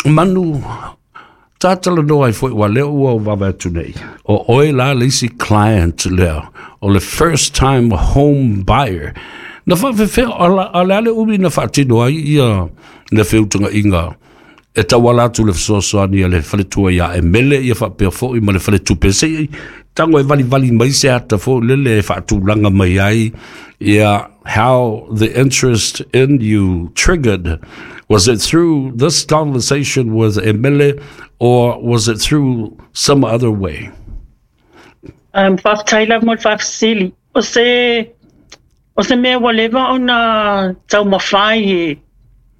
Manu, tatalanoa ai foi ua lea ua ou vaavaai atu nei, o oe la le isi client lea, o le first time home buyer. Na faafefea, o le a le umi na faatino ai ia le feutagaiga e tauala atu le fesoasoani a le faletua ia Emele ia faapea foi ma le faletupe? Se i tago e valivali mai se ata foi lele e faatulaga mai ai ia how the interest in you triggered. Was it through this conversation with Emele or was it through some other way? Faafetai lava mo le faafesili. O se mea ua leva ona taumafai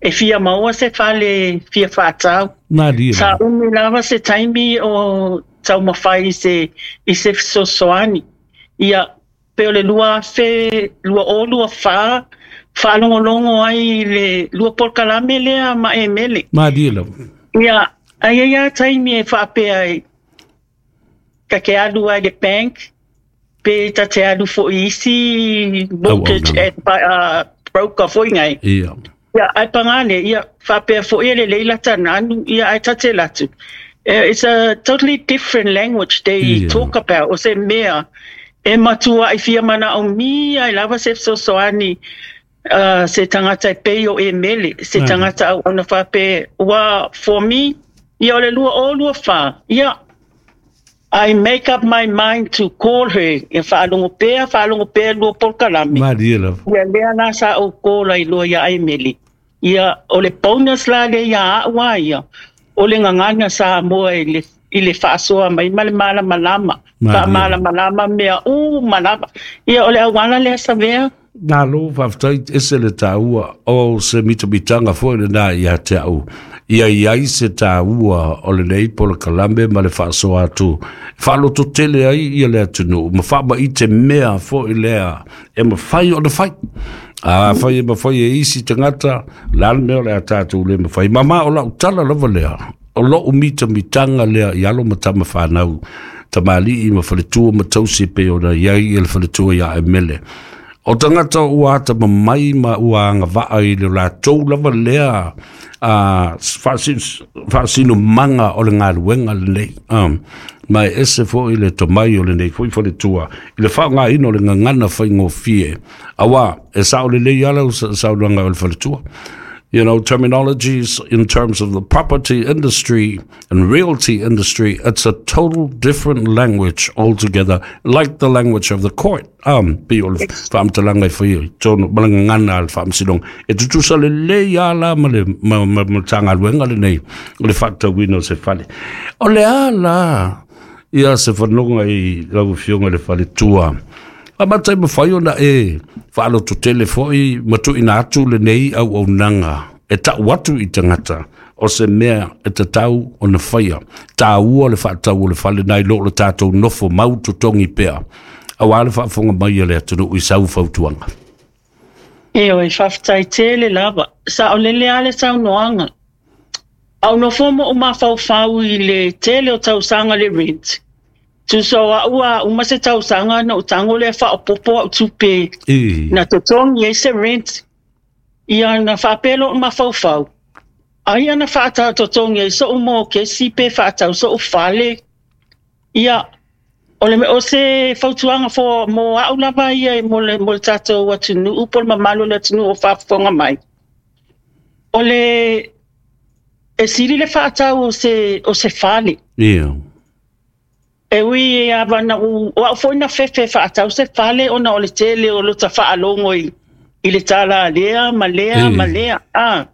e fia maua se fale fia faatau. Malie. Sa umi lava se taimi o taumafai i se fesoasoani. Ia, pe o le 2024 faalogologo ai i le lua polokalame lea ma Emele. Malie lava. Ia, ai ai a taimi e faapea ai, ta te alu ai le bank, pe ta te alu foi isi mortgage broker foi ngai. Ia, ai pangale, ia, faapea foi e le leila tananu, ia, ai tate latu. It's a totally different language they talk about. O se mea, e matua i fia mana o mi ai lava se fesoasoani se tagata e pei o Emele, se tagata au ona faapea, ua, for me, ia o le 2024, ia, I make up my mind to call her, ia faalogo pea, faalogo pea lua polokalame. Malie lava. Ia lea la sa ou call ai loa ia Emele. Ia, o le bonus la le ia au a ia, o le gagana Samoa i le faasoa mai ma le malamalama. Malie. Faamalamalama mea uma lava. Ia, o le auala lea Savea. Nalo, faafetai, ese le taua o se mitamitanga foi lena ia te au. Ia i ai se taua o lenei polokalame ma le faasoa atu. Faaloto tele ai ia le atunuu, ma faamaite mea foi lea e mafai ona fai. A fai e mafai e isi tagata, la le mea o le a tatou le mafai. Ma o lau tala lava lea, o lou mitamitanga lea i alo ma tama whanau, tamalii ma faletua ma tausi pe ona iai i le faletua ia Emele. O tagata ua ata mamai ma ua agavaa i le latou lava lea a faasinomaga o le galuega lenei. Ma e ese foi le tomai o lenei foi faletua i le faaaogaina o le gagana faigofie. Auā, e sao lelei ala o saunoaga o le faletua. Terminologies in terms of the property industry and realty industry, it's a total different language altogether, like the language of the court. Pe o le faamatalaga e fai ai tonu ma le gagana a le faamasinoga. E tutusa lelei ala ma le ma Matagaluega lenei o le faatauina o se fale. O le a la ia se fanoga i lau afioga i le faletua? A matai mafai ona e faalototele foi ma tuuina atu lenei auaunaga e tau atu i tagata o se mea e tatau ona faia. Taua le faatau o le fale nai lo le tatou nofo mau totogi pea. Auā le faafofoga mai a le atunuu i sau fautuaga. E oi, faafetai tele lava. Sa o lele a le saunoaga. Au nofo mo o mafaufau i le tele o tausaga le rent. Tusa o au a uma se tausaga na o tango lea faaopopo au tupe na totogi ai se rent. Ia na faapea o mafaufau. Ai ana faatau totogi ai so mo kesi pe faatau so fale. Ia, o le o se fautuaga fo mo au lava ia e mo le tatou atunuu po le mamalu o le atunuu o faafofoga mai. O le e sili le faatau o se fale. E ui e ava na u, o au foi na fefe faatau se fale ona o le tele o lota faalogo i le tala lea ma lea ma lea. Ah.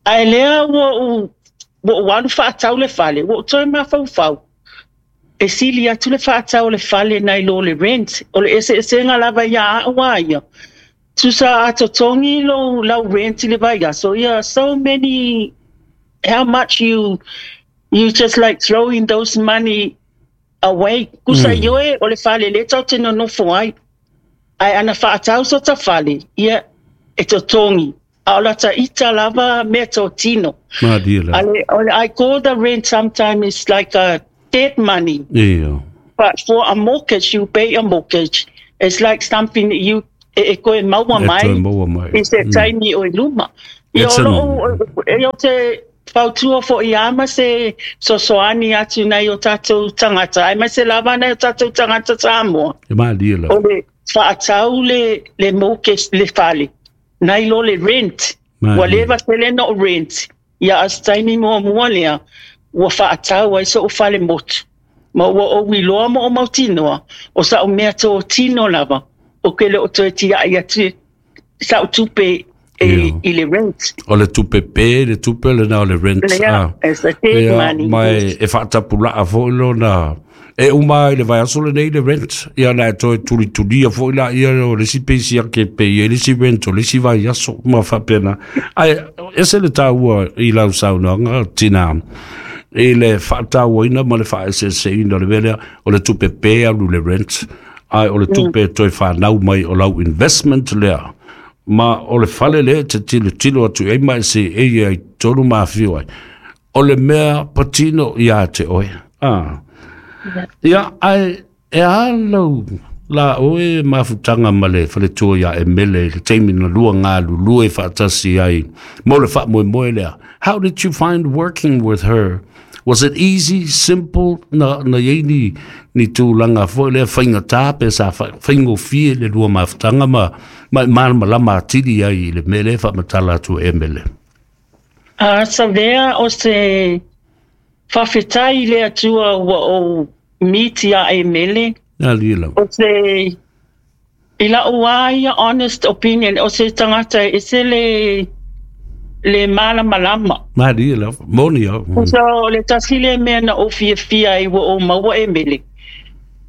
Ae lea ua ou alu faatau le fale, ua ou toe mafaufau. E sili atu le faatau o le fale nai lo le rent. O le eseesega lava ia au a ia. Tusa a totogi lo lau rent i le vaiaso. Ia, so many, how much you just like throwing those money away. Kusa ioe o le fale le tau te nonofo ai. Ai ana faatau so ta fale, ia e totogi. A o lata ita lava mea tō tino. Malie lava. Ale, I call the rent sometimes it's like a dead money. But for a mortgage, you pay a mortgage. It's like something that you e koe maua E mai toe maua mai. I se taimi o i luma. Ia o loo, e o te fautua fo'i lava ma se fesoasoani atu i nai o tatou tagata, aemaise lava nai o tatou tagata Samoa. E malie lava. O le faatau le, le mortgage, le fale, nai lo le rent. Ua leva tele ona ou rent, ia a o se taimi muamua lea ua faatau ai so'u fale motu, ma ua ou iloa ma ou mautinoa, o sa'u mea totino lava, ou te le o toe tia'i atu sa'u tupe e, i le rent. O le tupe pē, le tupe lena o le rent. Lea, it's a big money. Ma e faatapulaa foi lona e uma i le vaiaso lenei le rent. Ia na e toe tulitulia foi laia o le isi pei siaki e pay ai le isi rent o le isi vaiaso ma faapena. Ae ese le taua i lau saunoaga tina i le faatauaina ma le faaeseeseina o le mea lea o le tupe pē alu le rent, ae o le tupe e toe fanau mai o lau investment lea ma o le fale lea e te tilotilo atu i ai ma e seei ai i totonu ma afio ai. O le mea patino ia te oe. Ah. Ia, ae e a lau la oe mafutaga ma le faletua ia Emele i le taimi na lua galulue faatasi ai mo le faamoemoe lea. How did you find working with her? Was it easy, simple, na i ai ni tulaga foi lea faigata pe sa faigofie le lua mafutaga ma e malamalama atili ai i le mea lea e faamatala atu e Emele? A Savea, o se faafetai i le Atua ua ou miti ia Emele. Alie lava. O se, i la'u lava ia honest opinion, o se tagata e ese le malamalama. Malie lava. Moni au. So, o le tasi lea mea na ou fiafia ai ua ou maua Emele.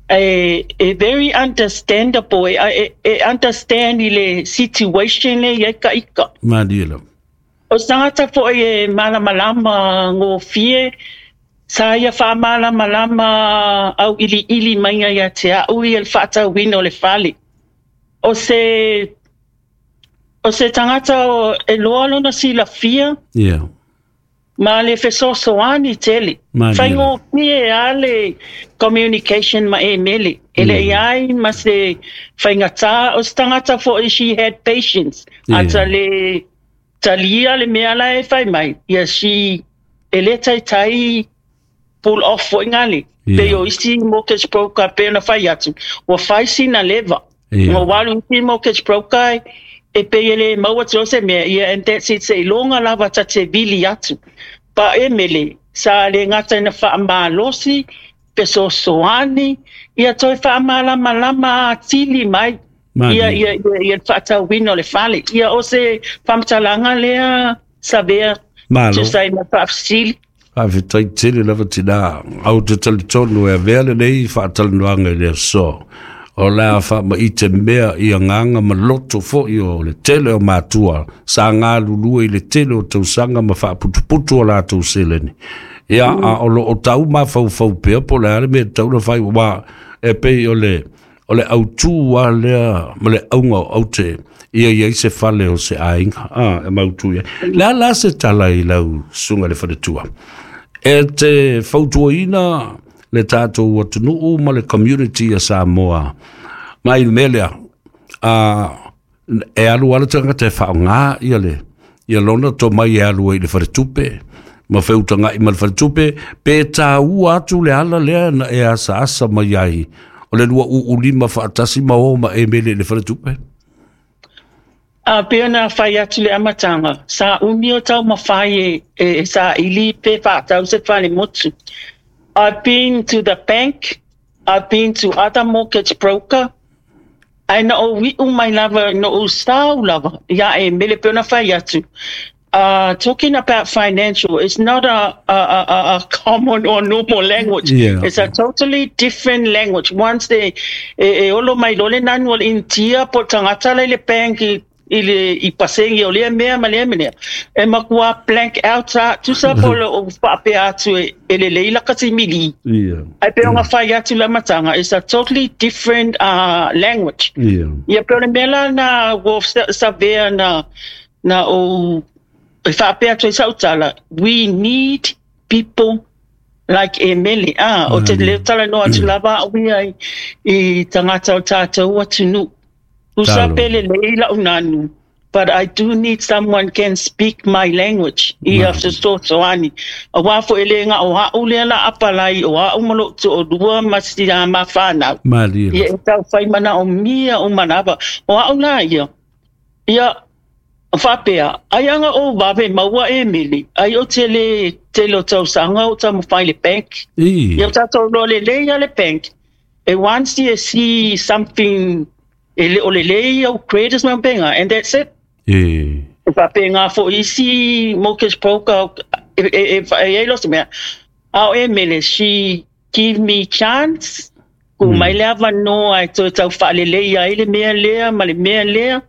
E very understandable, e understand i le situation lea i ai ka ika. Malie lava. O se tagata foi e malamalama gofie, sa ia faamalamalama auiliili mai ia te a'u ia le faatauina o le fale. O se tagata e loa lona silafia ma le fesoasoani tele. Malie. Faigofie lava le communication ma Emele. E le i ai ma se faigata. O se tagata foi, she had patience. Ata le talia le mea la e fai mai. Ia she e le taitai pull off foi ngale. Pe o isi mortgage broker pe na fai atu. Ua fai sina leva. Ua walu isi mortgage broker e pe e le maua te o se mea. Ia, and that's it. Se iloga lava ta te vili atu. Pa Emele, sa le gata ina faamalosi, fesoasoani, ia toe faamalamalama atili mai. Malie. Ia, ia, ia, ia le faatauina o le fale. Ia o se faamatalaga lea Savea. Malo. Tusa ai ma faafesili. Faafetai tele lava tina. Au te talitonu e avea lenei faatalanoaga i le aso. O le a faamaite mea i agaga ma loto foi o le tele o matua sa galulue i le tele o tausaga ma faaputuputu o latou seleni. Ia, a o lo o tau mafaufau pea po o le a le mea e tatau ona fai, aua e pei o le autū lava lea ma le auga o aute ia i ai se fale o se aiga e mautu i ai. Le a la se tala i lau susuga i le faletua? E te fautuaina le tatou atunuu ma le community a Samoa mai le mea lea, e alu lava le tagata e faaaoga ia le ia lona tomai e alu ai i le faletupe ma feutaga'i ma le faletupe, pe taua atu le ala lea na e asaasa mai ai o le lua uulima faatasi ma o ma Emele i le faletupe? A pe ona fai atu le amataga, sa umi o taumafai e saili pe faatau se fale motu. I've been to the bank, I've been to other mortgage broker, ae na ou iu mai lava, na ou sau lava ia Emele pe ona fai atu. Talking about financial is not a common or normal language. It's a totally different language. Once they e olo mai loa le nanu o le Initia po o le tagata la i le bank i le i pasegi o lea mea ma lea mea, e matua blank out a tusa po o le ou faapea atu e lelei laka simili. Ae pe ona fai atu le amataga, it's a totally different language. Ia pe o le mea la na ua savea na ou e faapea atu ai sau tala, we need people like Emele. Ah, o te leo talanoa atu lava au ia i tagata o tatou atunuu. Tusa Talo. pe lelei lau nanu. But I do need someone can speak my language, ia fesoasoani. Auā foi e le ga'o a'u lea la apalai o a'u ma lo'u to'alua ma si a ma fanau. Malie Ia lava. e taufai manaomia uma lava. O a'u la ia, ia faapea, ai aga ou vave maua e mele, ai o te le tele o tausaga o taumafai i le bank. Ia Ī. tatou iloa lelei a le bank, e once you see something e le o lelei au credits ma pega, and that's it. E. E faapena foi isi mortgage broker e i ai lo se mea. A o Emele, she give me chance, tuu mai le avanoa e toe tau faalelei ai le mea lea ma le mea lea.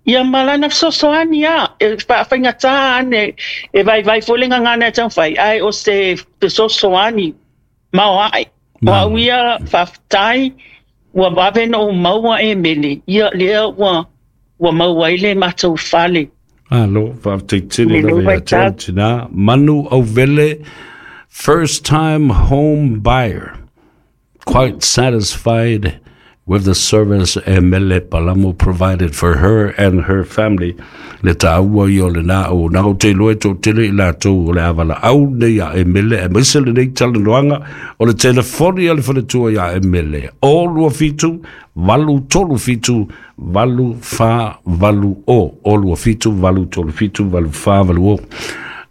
Ia ma lana fesoasoani a, e faafaigata ane, e vaivai foi le gagana e taumafai, ae o se fesoasoani maoae. O au ia faafetai, ua vave ona ou maua Emele, ia lea ua ua maua ai le matou fale. Malo, faafetai tele I lenei lava ia te oe vaitau. tinā. Manu Auvele, first time home buyer, quite satisfied with the service Emele Palamo provided for her and her family. Le tāua ia o lenā o nā o te iloa e toatele i latou o le a valaau nei a Emele, aemaise lenei talanoaga o le telefoni a le faletua iā Emele. O 27 837 848 O 27 837 848.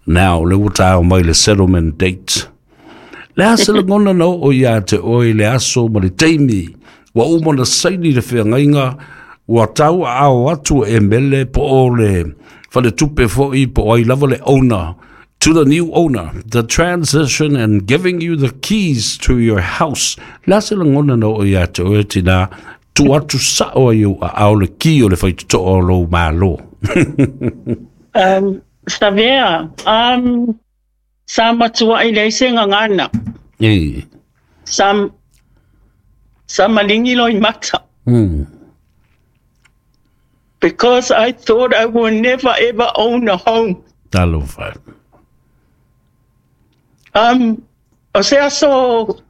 Now, le ua taeo mai le settlement date. Le a se lagona na oo iā te oe i le aso ma le taimi ua uma ona saini le feagaiga ua tau aao atu e Mele po o le faletupe foi po o ai lava le owner to the new owner, the transition and giving you the keys to your house. Le a se lagona na oo iā te oe tinā tuu atu sa'o ai i ou aao le ki o le faitotoa o lou Malo. Um, Savea, um, sa matua'i leai se gagana. E. Sa, sa maligi loimata. Because I thought I would never ever own a home. Talofa. Um, o se aso,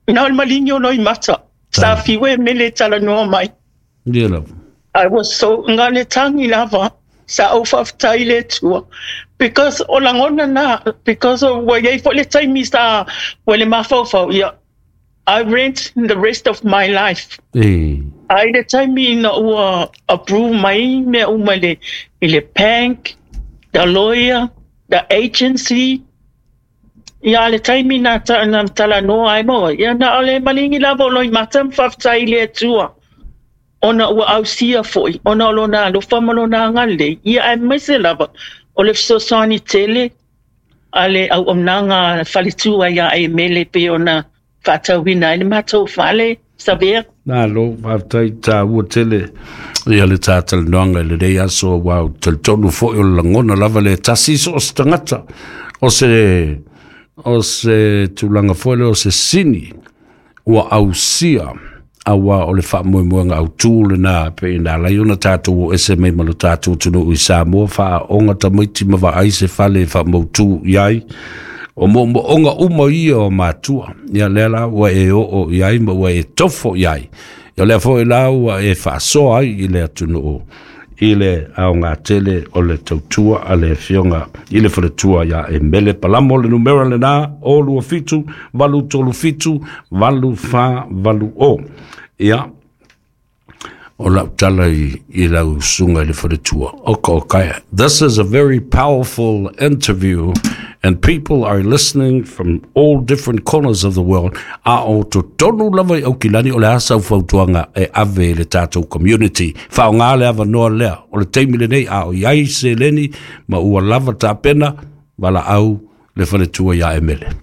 na o le maligi o loimata. Sa fiu e mele talanoa mai. Ia lava. I was so nga le tangi lava sa ou faafetai i le Atua because o lagona na because o ua iai foi le taimi sa ua le mafaufau ia I rent the rest of my life. E. A i le taimi ina ua approve mai mea uma i le i le bank, the lawyer, the agency, ia a le taimi na ta na talanoa ai ma oe, ia na o le maligi lava o Loimata ma faafetai i le Atua ona ua ausia foi ona o lona alofa ma lona agalelei, ia aemaise lava o le fesoasoani tele a le auaunaga faletua iā Emele pei ona faatauina ai le matou fale, Savea. Malo, faafetai tāua tele ia le tātalanoaga i lenei aso aua ou te talitonu foi o le lagona lava le tasi so o se tagata o se o se tulaga foi lea o se sini ua ausia aua o le faamoemoega autū lenā pei ona ala ai ona tatou o ese mai ma lo tatou atunuu i Samoa, faaooga tamaiti ma vaai se fale e faamautū i ai. O moomooga uma ia o matua, ia lea la ua e oo i ai ma ua e tofo i ai. Ia lea foi la ua e faasoa ai i le atunuu i le aoga tele o le tautua a le Afioga i le Faletua iā Emele Palamo. Le numera lenā, o 27 837 8480. Ia, o lau tala i, i lau susuga i le faletua. Oka okae. This is a very powerful interview and people are listening from all different corners of the world. A o totonu lava i Aukilani o le a sau fautuaga e ave i le tatou community. Faaaoga le avanoa lea o le taimi lenei a o i ai seleni ma ua lava tapena, valaau le faletua iā Emele.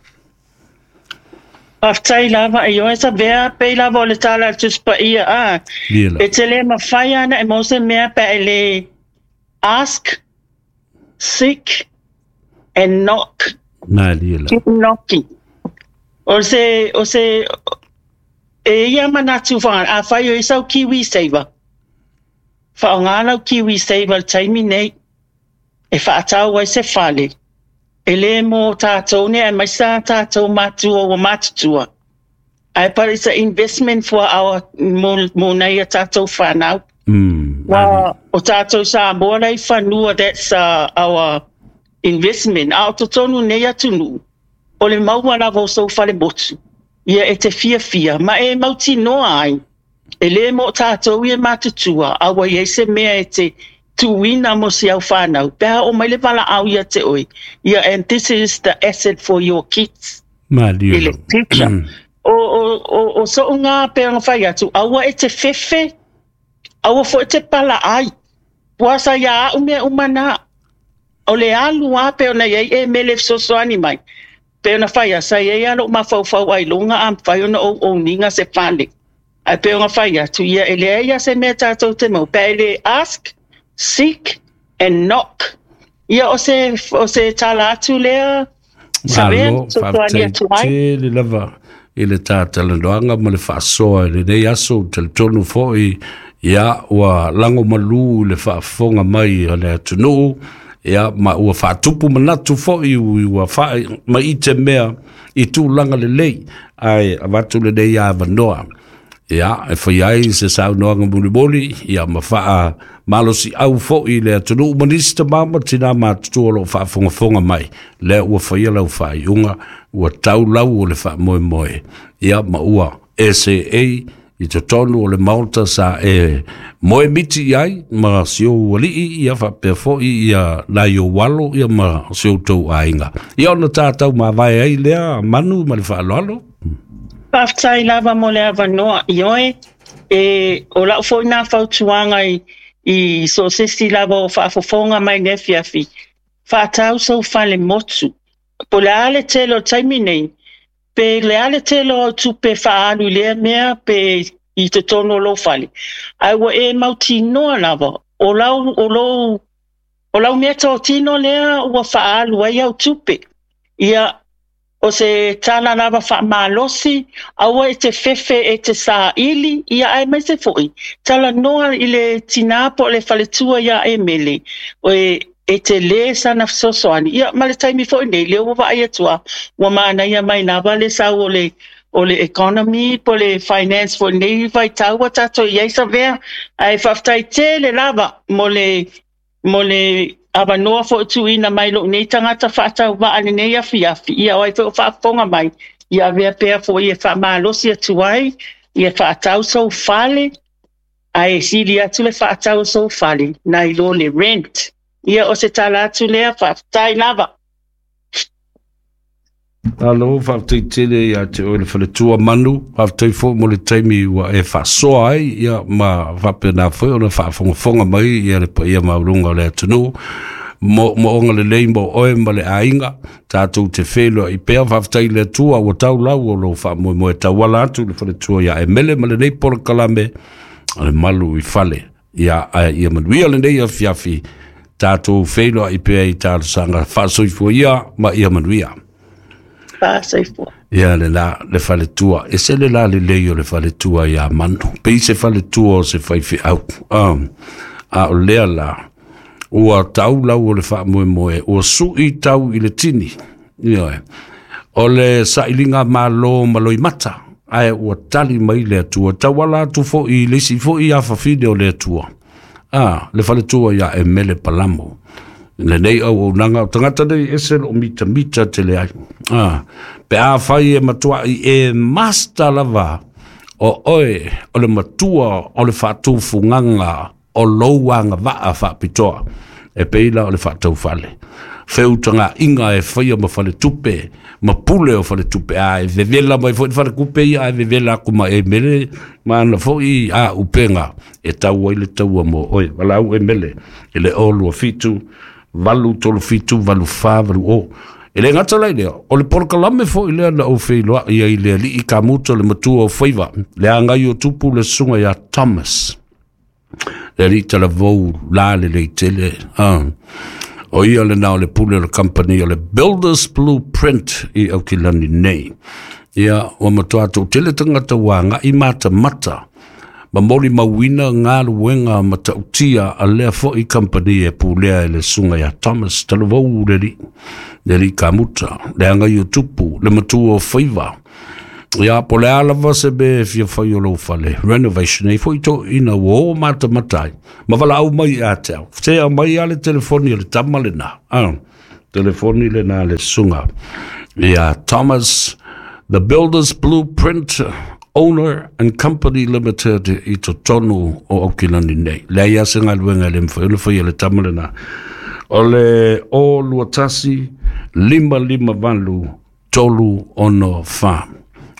Faafetai lava i oe Savea, pei lava o le tala a le Tusi Paia a, Ia e te le mafai ana e maua se mea pe a e le ask, seek and knock. Malie lava. Keep knocking. O se, o se, e ia manatu wha, a whai o isau kiwi saver. Whaonga lau kiwi saver le taimi nei, e whaatau ai se fale. E le mō tātou nei, aemaise ā tātou mātua ua mātutua. Ae but it's a investment for our, mō, mō nei a tātou whānau. Mm. Ua o tātou Samoa la i fanua, that's our investment. A o totonu nei atunuu, o le maua lava o sou fale motu, ia e te fiafia, ma e mautinoa ai, e lē mo tātou ia matutua, a ua iai se mea e te tuina mo si au whānau. Pea o mai le wala au ia te oi. Ia, and this is the asset for your kids. Malie I le future. O so ngā pe anga whai atu, aua e te whewhe, aua fo e te pala ai. Puasa ia au mea umana, o le alu a pe ona iai e mele fesoasoani mai. Pe ona whai a sa iai alo mafaufau ai longa a whai ona o ninga se fale. Ai pe ona whai atu ia e lea ia se mea tātou te mau. Pe ele ask, seek and knock. Ia o se tala atu lea. Malo, whaftai tele lava i le tātalanoanga ma le whaasoa i le nei aso te tonu foi ia ua lango malu le whaafonga mai a le atunuu ia ma ua whaatupu manatu foi ua wha ma i te mea i tūlanga le lei ai avatu le nei a vanoa ia e whai ai se saunoanga mulimuli ia ma whaa malosi au foi le atunuu manisi mama tina matutua o loo faafogafoga mai lea ua faia lau faaiuga ua taulau o le faamoemoe ia ma ua SAA i totonu o le maota sa e moe miti i ai ma si ou alii ia faapea foi ia nai ou alo ia ma si outou aiga ia ona tatau mavae ai lea Manu ma le faaaloalo. Faafetai lava mo le avanoa ioe e o lau foi nā fautuaga i so sesi lava o faafofoga mai le afiafi. Faatau sou fale motu. Po le a le tele o taimi nei, pe le a le tele o tupe faaalu i lea mea pe i totonu o lou fale. Ae ua e mautinoa lava, o lau mea totino lea ua faaalu ai au tupe. Ia, o se tala lava faamalosi, aua e te fefe e te saili, ia ae mai se foi. Tala noa i le tina po le faletua ia e mele, o e te le sana fesoasoani. Ia, ma le taimi foi nei, lea ua vaai atua, ua manaia mai lava le sau o le economy, po le finance foi nei vai taua tātou iai savea. Ae faafetai tele lava mo le avanoa foi tuuina mai lou nei tagata faatauvaa lenei afiafi. Ia o ai foi o faafofoga mai, ia avea pea foi e faamalosi atu ai, ia faatau sou fale, ae sili atu le faatau sou fale, nai lo le rent. Ia o se tala atu lea, faafetai lava. Alo, faafetai tele ia te oe le faletua Manu, faafetai foi mo le taimi ua e faasoa ai, ia ma faapena foi ona faafogafoga mai ia le paia maualuga o le atunuu. Mo onga lelei mo oe ma le aiga, tātou te whenua i pea, faafetai le Atua ua taulau o lou faamoemoe tauala atu le faletua ia e mele ma lenei polokalame o le malu i fale. Ia, ia manuia lenei afiafi, tātou whenua i pea i talosaga faasoifua ia ma ia manuia. Faasoifua. Ia le la le faletua, e se le la le lei o le faletua ia Manu. Pe se faletua o se faifeau. A o lea la, ua taulau o le faamoemoe, ua sui tau i le tini. Ia, o le sailiga malo ma loimata, ae ua tali mai le Atua, tauala atu foi i le isi foi afafine o le Atua. Le faletua ia e mele palamo. Le nei au aunaga o tagata nei ese loo mitamita tele ai. Pe a fai e matuai e master lava o oe o le matua o le faatufugaga o lou agavaa faapitoa e peila o le faataufale. Feutaga inga e faia ma faletupe, ma pule o faletupe, a e vevela mai foi falekupe ia, a e vevela aku ma e mele, ma ana foi a upenga, e tau ai le taua mo oe. Walau e mele, e le 0 2 7 8 3 7 8 4 8 o. E le ngata lai lea, o le polokalame foi lea na ou feiloai ia i le alii kamuta le matua o faiva, le agai o tupu le susuga ia Thomas. Le alii talavou la le leitele. O ia le nao le pule o le company o le Builders Blueprint i Aukilani nei. Ia, ua matua tau tele tangata wanga i mata mata. Ma moli mauina ngā luenga matautia a lea foi company e pulea e le sunga ia Thomas talavou le li kamuta, le anga i o tupu, le matua o faiva. Ia, po o le a lava se mea e fia fai o lou fale, renovation, e i ai foi toeaiina ua o matamata ai, ma valaau mai ia te au. Se aumai lava le telefoni a le tama lena, a, telefoni lena a le susuga ia Thomas, The Builders Blueprint Owner and Company Limited i totonu o Aukilani nei. Leai lava se galuega e le mafai ona faia e le tama lena. O le 021 558 364.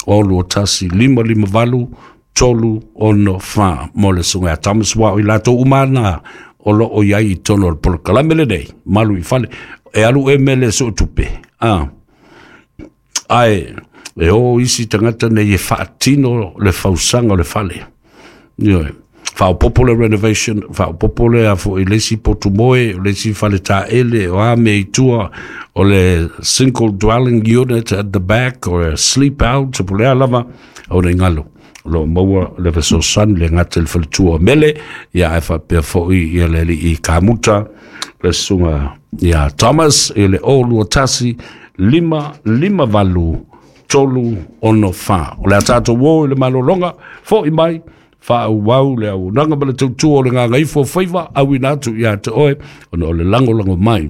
021 558 364 mo le susuga ia Thomas aua o i latou uma na o lo o i ai i totonu o le polokalame lenei, Malu i Fale. E alu e mele e suetupe, a, ae e o isi tagata nei e faatino le fausaga o le fale. Ioe. Faaopoopo le renovation, faaopoopo le a foi le isi potu moe, o le isi fale taele, o a mea i tua, o le single dwelling unit at the back, o le sleep out, po o le a lava, aua ne i galo. O lo o maua le fesoasoani le gata i le faletua o Mele, ia ae faapea foi ia le alii kamuta, le susuga ia Thomas i le 021 558 364. O le a tatou o i le malologa, foi mai, faaauau le auaunaga ma le tautua o le gagaifo o faiva, auina atu ia te oe, ona o le lagolago mai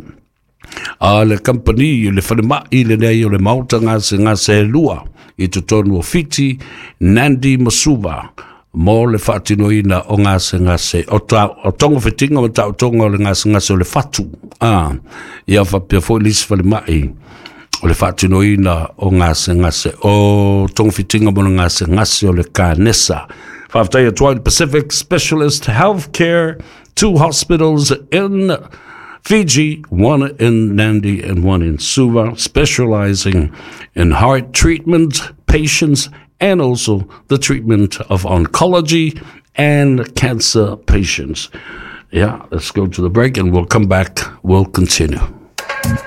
a le kamupani, le falemai lenei o le Maota Gasegase e lua i totonu o Fiti, Nandi ma Suva, mo le faatinoina o gasegase o, ta, o togafitiga ma taotoga o le gasegase o le fatu. A, ia faapea foi le isi falemai o le faatinoina o gasegase o togafitiga mo le gasegase o le kanesa. Faafetai atu ai le Pacific Specialist Healthcare, two hospitals in Fiji, one in Nandi and one in Suva, specializing in heart treatment patients and also the treatment of oncology and cancer patients. Yeah, let's go to the break and we'll come back. We'll continue.